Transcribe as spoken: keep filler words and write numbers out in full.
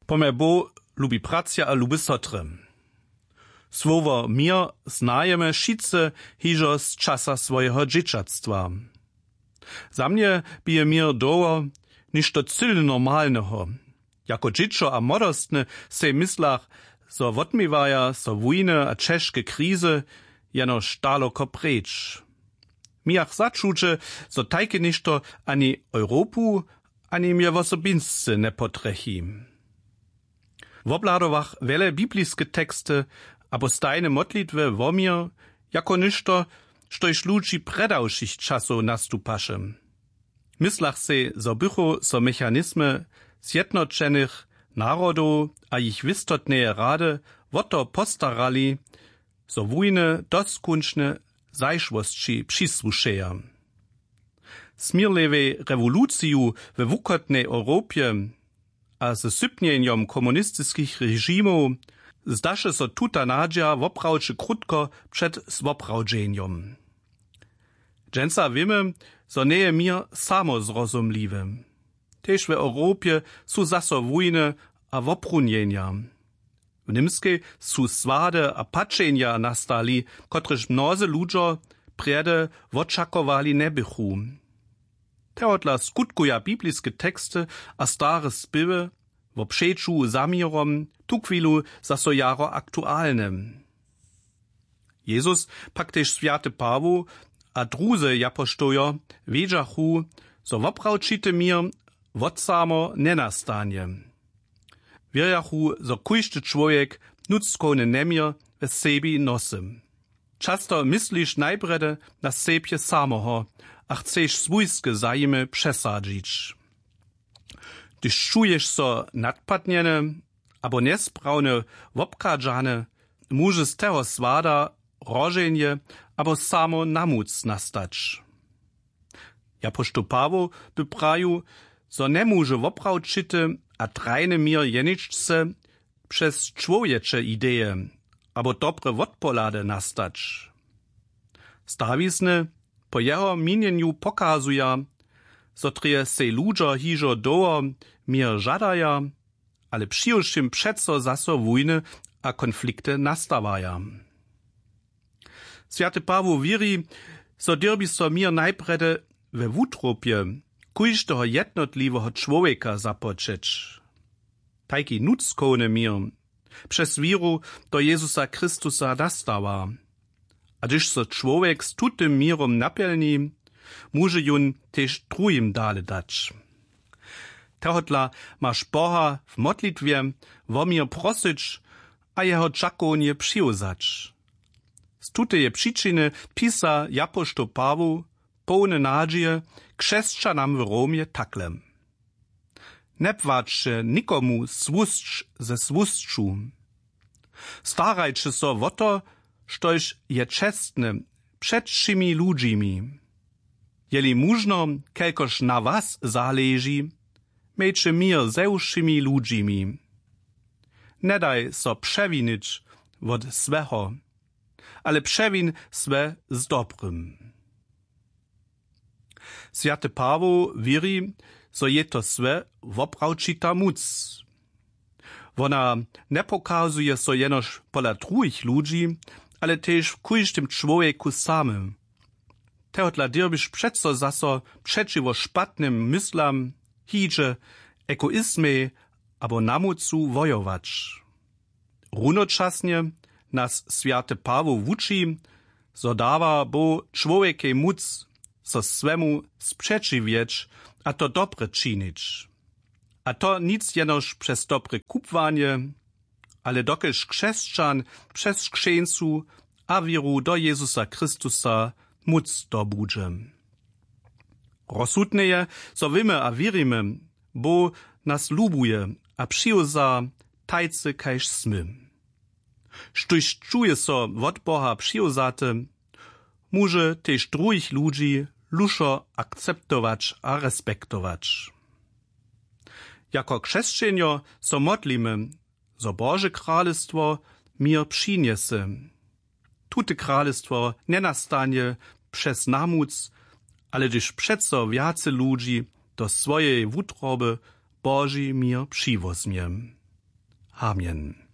Pomje Bóh, lubi bratřa a lube sotry. Słowo měr znajemy wšitcy hižo z časa swojeho dźěćatstwa. Za mnje bě měr dołho něšto cyle normalneho. Jako dźěćo a młodostny sej w myslach, zo wotměwaja so wójny a ćežke krizy, jenož daloko preč. Mějach začuće, zo tajke něšto ani Europu, ani mje wosobinsce njepotrjechi. Wobhladowach wjele bibliske teksty abo stajne modlitwy wo měr jako něšto, štož ludźi prjeda wšěch časow nastupaše. Myslach sej, zo bychu so mechanizmy zjednoćenych narodow a jich wěstotneje rady wo to postarali, zo wójny doskónčne zašłosći přisłušeja. Směrljewej rewoluciju we wuchotnej Europje a ze sypnjenjom komunistiskich režimow zdaše so tuta nadźija woprawdźe krótko před woprawdźenjom. Dźensa wěmy, zo njeje měr samozrozumliwy. Tež w Europje su zaso wójny a woprunjenja. W Němskej su swady a pačenja nastali, kotrež mnozy ludźo prjedy wočakowali njebychu. Tohodla skutkuja bibliske teksty a stare spěwy wo přeću za měrom tuchwilu zaso jaro aktualne. Jezus pak tež swjaty Pawoł a druzy japoštołjo wědźachu, zo woprawčity měr wot samo njenastanje. Wěrjachu, zo kóždy čłowjek nutřkowny njeměr we sebi nosy. Často mysliš najprjedy na sebje samoho a chceš swójske zajimy přesadźić. Hdyž čuješ so nadpadnjeny abo njesprawnje wobchadźany, móže z teho swada hroženje abo samo namuc nastać. Japoštoł Pawoł by prajił, zo njemóže woprawčity a trajny měr jeničce přez čłowječe ideje abo dobre wotpohlady nastać. Stawizny po jeho měnjenju pokazuja, zo drje sej ludźo hižo dołho měr žadaja, ale přiwšěm přeco zaso wójny a konflikty nastawaja. Swjaty Pawoł wěri, zo dyrbi so měr najprjedy we wutrobje kóždeho jednotliweho čłowjeka započeć. Tajki nutřkowny měr přez wěru do Jezusa Chrystusa nastawa. A hdyž so čłowjek z tutym měrom napjelni, móže jón tež druhim dale dać. Tohodla maš Boha w modlitwje wo měr prosyć a jeho dźakownje přiwzać. Z tuteje přičiny pisa japoštoł Pawoł połny nadźije křesćanam w Romje takle: Njepłaćće nikomu słusć ze słusću. Starajće so wo to, štož je čestne před wšěmi ludźimi. Jeli móžno, kelkož na was zaleži, mějće měr ze wšěmi ludźimi. Njedaj so přewinić wot złeho, ale přewin złe z dobrym. Swjaty Pawoł wěri, zo je to złe woprawčita móc. Wona njepokazuje so jenož pola druhich ludźi, ale tež w kóždym čłowjeku samym. Tohodla dyrbiš přeco zaso přećiwo špatnym myslam, hidźe, egoizmej abo namucu wojować. Runočasnje nas swjaty Pawoł wuči, zo dawa Bóh čłowjekej móc, so swemu spřećiwjeć a to dobre činić. A to nic jenož přez dobre kubłanje, ale dokelž křesćan přez křćeńcu a wěru do Jezusa Chrystusa móc dobudźe. Rozsudne je, zo wěmy a wěrimy, Bóh nas lubuje a přiwza tajcy, kaž smy. Štóž čuje so wot Boha přiwzaty, móže tež druhich ludźi lušo akceptować a respektować. Jako křesćenjo so modlimy, zo Bože kralestwo měr přinjese. Tute kralestwo njenastanje přez namuc, ale hdyž přeco wjace ludźi do swojeje wutroby Boži měr přiwozmje. Amen.